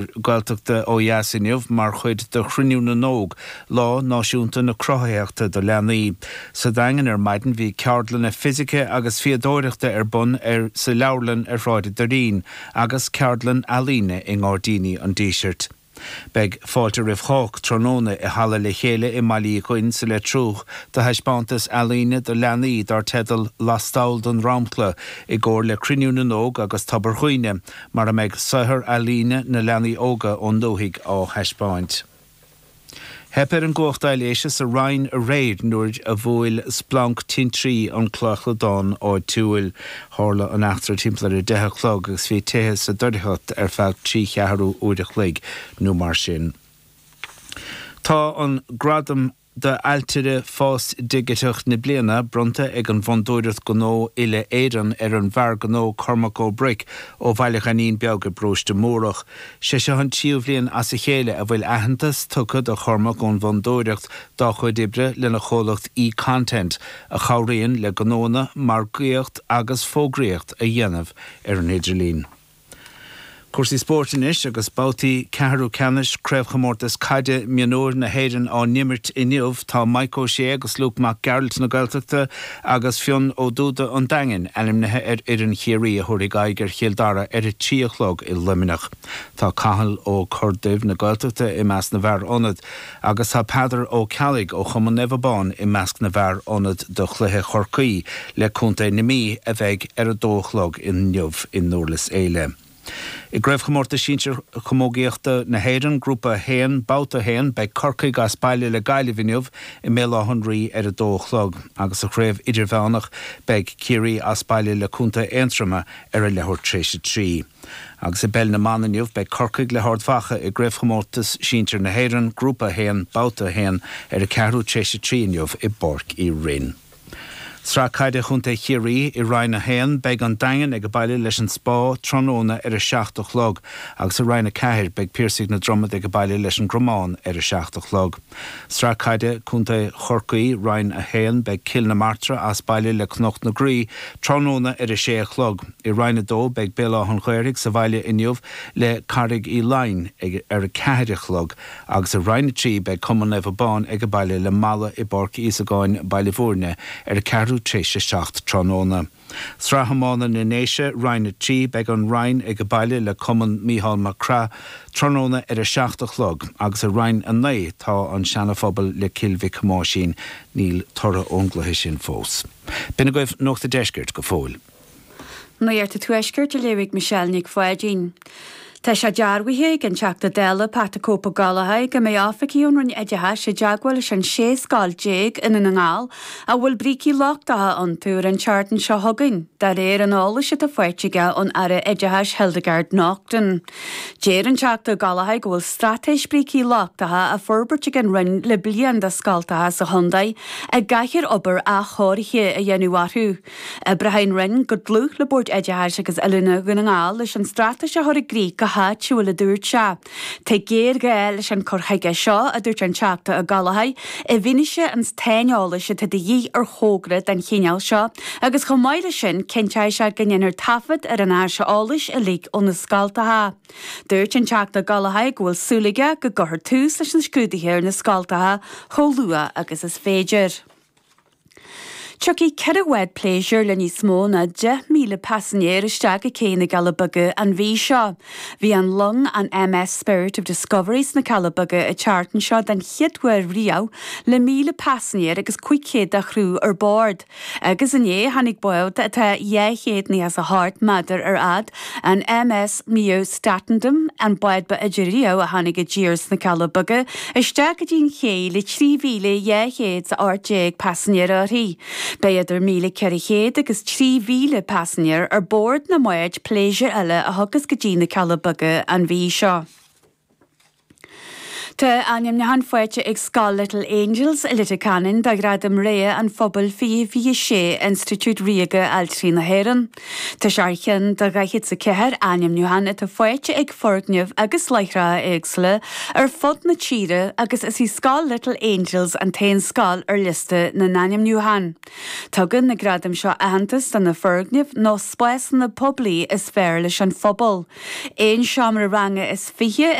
Gaeltachta ó dheas inniu mar chuid de Chruinniú na nÓg, Lá Náisiúnta na Cruthaitheachta do Leanaí. Sa Daingean ar maidin bhí ceardlanna fisice agus fíodóireachta ar bun ar sa leabharlann ar Shráid an Doirín agus ceardlann ealaíne i nGairdíní an Dísirt. Beidh fáilte roimh chách tráthnóna i Halla Le Chéile i mBaile Uí Dhuinn sa Leitriúch do thaispeántas ealaíne do leanaí dar teideal Lastall den Dromchla i gcomhar le Cruinniú na nÓg agus Tobar Dhuibhne mar a mbeidh saothar ealaíne na leanaí óga ón ndúthaigh á thaispeáint. Theip ar an gcumhacht aibhléise sa Rinn aréir nuair a bhuail splanc tintrí an clachladán áitiúil. Tharla an eachtra timpeall ar 10 a chlog agus bhí tithe sa doircheacht ar feadh 3 cheathrú uair a chloig nó mar sin. Tá an gradam d'Ailtire Fás Digiteach na Bliana bronnta ag an bhFondúireacht Gnó Uile-Éireann ar an bhfear gnó Cormac Ó Bruic ó Bhaile Ghainín Beag i bparóiste Múrach. Sé seo an tríú bhliain as a chéile a bhfuil aitheantas tugtha do Chormac ón bhFondúireacht dá chuid oibre lena chomhlacht eContent a chabhraíonn le gnóanna margaíocht agus fógraíocht a dhéanamh ar an idirlíon. Cúrsaí spóirt anois agus babhtaí ceathrú ceannais Craobhchomórtas Caide Mionúir na hÉireann á n-imirt inniu. Tá Mike Ó Sé agus Luke Mac Gearailt na Gaeltachta agus Fionn Ó Dúda an Daingin ainmnithe ar fhoireann Chiarraí a thabharfaidh aghaidh ar Chill Dara ar a 3 a chlog i Luimneach. Tá Cathal Ó Corrduibh na Gaeltachta i measc na bhfear ionad agus tá Peadar Ó Ceallaigh ó Chumann Naomh Abán i measc na bhfear ionad do chluiche Chorcaí le Contae na Mí a bheidh ar a dó a chlog inniu i nDurlas Éile. I gCraobhchomórtas Sinsir Chamógaíochta na hÉireann, Grúpa 1, Babhta 1, beidh Corcaigh as baile le Gaillimh inniu i mBéal Átha an Rí ar a dó a chlog agus sa chraobh idirmheánach beidh Ciarraí as baile le Contae Aontroma ar a leathuair tar éis a 3. Agus i bPeil na mBan inniu, beidh Corcaigh le hArd Mhacha i gCraobhchomórtas Sinsir na hÉireann, Grúpa 1, Babhta 1, ar a ceathrú tar éis a 3 inniu i bPáirc Uí Rinn. Sraith Caide Chontae Chiarraí, I Roinn 1, beidh an Daingean ag baile leis an Spá tráthnóna ar a 7 a chlog agus i Roinn 4, beidh Piarsaigh na Dromad ag baile leis an gCromán ar a 7 a chlog. Sraith Caide Contae Chorcaí, Roinn 1, Beidh Cill na Martra as baile le Cnoc na Graí tráthnóna ar a sé a chlog. I Roinn 2, beidh Béal Átha an Ghaorthaidh sa bhaile inniu le Carraig Uí Leighin ag ar a 4 a chlog agus i Roinn 3, beidh Cumann Naomh Abán ag baile le Mala i bPáirc Íosagáin, Baile Bhúirne ar a ceathrú tar éis a 7 tráthnóna. Sraith Iomána na nDéise, Roinn 3, Beidh an Rinn ag baile le Cumann Mícheál Mac Craith tráthnóna ar a 7 a chlog agus i Roinn 9 tá an Seana-Phobal le Cill Mhic Thomáisín. Níl toradh ón gcluiche sin fós. B'in agaibh Nuacht an Deiscirt go fóill. Nuacht an Tuaiscirt a léifidh Michelle Nic Pháidín. Tá sé dearbhaithe ag an Teachta Dála Pat 'The Cope Ó Gallchóir go mbeidh oifigigh ón Roinn Oideachais i dteagmháil leis an 16 scoil i nDún na nGall a bhfuil brící lochtacha iontu ar an tseachtain seo chugainn, de réir an eolais atá faighte aige ón Aire Oideachais Hildegarde Naughton. Deir an Teachta Ó Gallchóir go bhfuil straitéis brící lochtacha á forbairt ag an Roinn le bliain do scoltacha sa chontae a gcaithfear obair athchóirithe a dhéanamh orthu. Oibreoidh an Roinn go dlúth le Bord Oideachais agus Oiliúna Dhún na nGall leis an straitéis a chur i gcrích go háitiúil, a dúirt sé. Tá géarghá leis an cur chuige seo, a dúirt an Teachta Ó Gallchóir, i bhfianaise an tsaineolais atá de dhíth ar thogra den chineál seo agus chomh maith leis sin cinnteoidh sé go ndéanfar taifead ar an aiseolas uilig ó na scoltacha. Dúirt an Teachta Ó Gallchóir go bhfuil súil aige go gcuirfear tús leis na scrúduithe ar na scoltacha chomh luath agus is féidir. Tiocfaidh 4 bhád pléisiúir le níos mó ná 10,000 paisinéir isteach go cé na gCealla Beaga an mhí seo. Bhí an long, an MS Spirit of Discovery sna Cealla Beaga an tseachtain seo den chéad uair riamh le 1,000 paisinéir agus 500 dá chriú ar bord. Agus inné tháinig bád atá 298 méadar ar fhad, an MS Nieuw Statendam, an bád ba fhaide riamh a tháinig i dtír sna Cealla Beaga, isteach go dtí an ché le 3,218 paisinéir uirthi. Beidh idir 1,400 agus 3,000 paisinéir ar bord na mbád pléisiúir eile a thiocfas go dtí na Cealla Beaga an mhí seo. Tá ainmniúchán faighte ag Scoil Little Angels i Leitir Ceanainn do Ghradam Rogha an Phobail 2026 Institiúid Ríoga Ailtirí na hÉireann. Tá sé ar cheann de 44 ainmniúchán atá faighte ag foirgnimh agus láithreacha éagsúla ar fud na tíre agus is í Scoil Little Angels an t-aon scoil ar liosta na n-ainmniúchán. Tugann na gradaim seo aitheantas do na foirgnimh nó spásanna poiblí is fearr leis an phobal. Aon seomra ranga is 20.